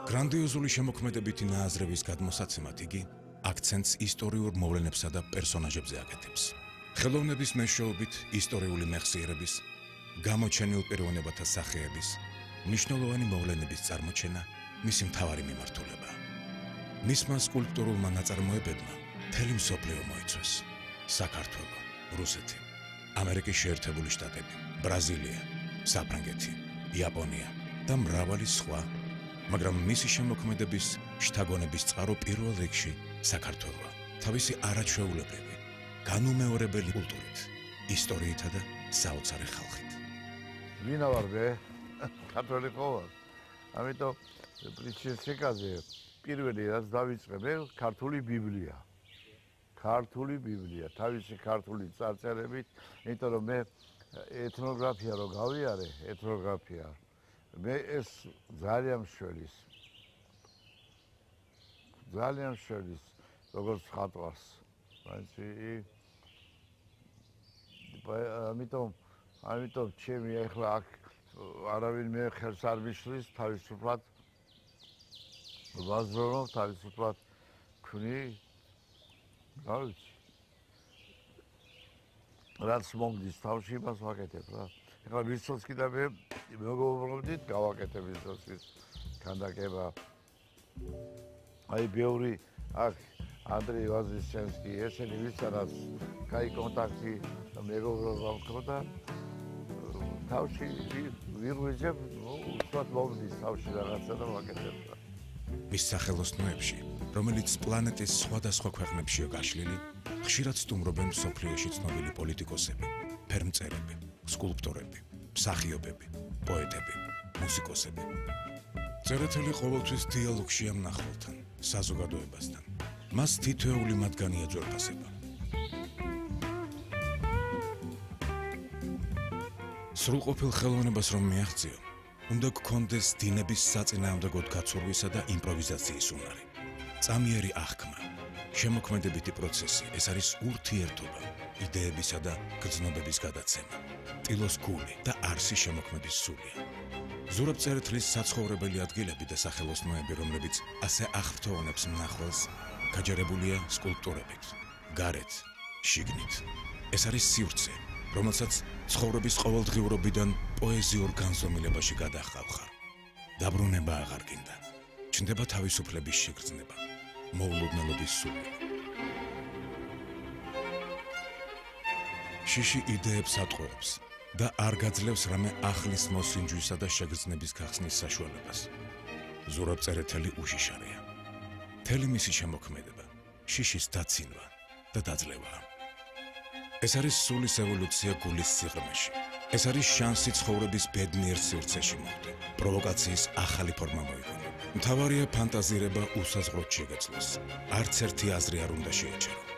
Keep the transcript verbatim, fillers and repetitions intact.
გრანდიოზული შემოქმედებითი ნააზრევის გადმოსაცემად იგი აქცენტს ისტორიურ მოვლენებსა და პერსონაჟებზე აკეთებს. ხელოვნების მეშვეობით ისტორიული მეხსიერების, გამოჩენილ პიროვნებათა სახეების, მნიშვნელოვანი მოვლენების წარმოჩენა მისი მთავარი მიმართულებაა. მისმა სკულპტურულმა ნაწარმოებებმა მთელი მსოფლიო მოიცვეს: საქართველო, რუსეთი, ამერიკის შეერთებული შტატები, ბრაზილია, საფრანგეთი, იაპონია და მრავალი სხვა, მაგრამ მისი შემოქმედების შთაგონების წყარო პირველ რიგში საქართველოა. თავისი არაჩვეულებრივი, განუმეორებელი კულტურით, ისტორიითა და საოცარი ხალხით. ვინა ვარ მე? ქართველი ხო ვარ? ამიტომ პრინცესიკაზე პირველი რაც დავიწყე მე ქართული ბიბლია. ქართული ბიბლია, თავისი ქართული წარწერებით, იმიტომ რომ მე ეთნოგრაფია რო გავიარე, ეთნოგრაფია მე ეს ძალიან მშველის ძალიან მშველის როგორც ხატვას მაინცი ამიტომ ამიტომ ჩემი ახლა აქ არავინ მე ხელს არ მიშლის თავისუფლად ვაზრობ თავისუფლად ქმნი რა ვიცი რაც მომდის თავში იმას ვაკეთებ რა ეხლა ვისოცკი და მე მეგობრობდით გავაკეთებ ვისოცკის ქანდაკება აი ბევრი აქ ანდრეი ვაზისჩენსკი ესენი ვისთანაც კაი კონტაქტი მეგობრობა მქონდა თავში ვირღვიძებ უსვათ მომდის თავში რაღაცა და ვაკეთებ მის სახელოსნოებში რომელიც პლანეტის სხვადასხვა ქვეყნებშია გაშლილი ხშირად სტუმრობენ მსოფლიოში ცნობილი პოლიტიკოსები, ფერმწერები, სკულპტორები, მსახიობები, პოეტები, მუსიკოსები. წერეთელი ყოველთვის დიალოგშია მნახველთან, საზოგადოებასთან. მას თითოეული მათგანი ეძვირფასება. სრულყოფილ ხელოვნებას რომ მიაღწიო, უნდა გქონდეს დინების საწინააღმდეგოდ გაცურვისა და იმპროვიზაციის უნარი. წამიერი აღქმა, შემოქმედებითი პროცესი, ეს არის ურთიერთობა, იდეებისა და გრძნობების გადაცემა. ტილოს გული და არსი შემოქმედის სულია. ზურაბ წერეთლის საცხოვრებელი ადგილები და სახელოსნოები, რომლებიც ასე ახრთოვანებს მნახველს, გაჯერებულია სკულპტურებით, გარეთ, შიგნით. ეს არის სივრცე, რომელსაც ცხოვრების ყოველდღიურობიდან პოეზიურ განზომილებაში გადაჰყავხარ. დაბრუნება აღარ გინდა, ჩნდება თავისუფლების შეგრძნება, მოულოდნელობის სული. შიში იდეებს ატყუებს და არ გაძლევს რამე ახლის მოსინჯვისა და შეგრძნების გახსნის საშუალებას. ზურაბ წერეთელი უშიშარია. მთელი მისი შემოქმედება შიშის დაცინვა და დაძლევაა. ეს არის სულის ევოლუცია გულის სიღრმეში. ეს არის შანსი ცხოვრების ბედნიერ სივრცეში მოხვდა. პროვოკაციის ახალი ფორმა მოიგონა. მთავარია ფანტაზირება უსაზღვროდ შეგეძლოს. არც ერთი აზრი არ უნდა შეეჩერო.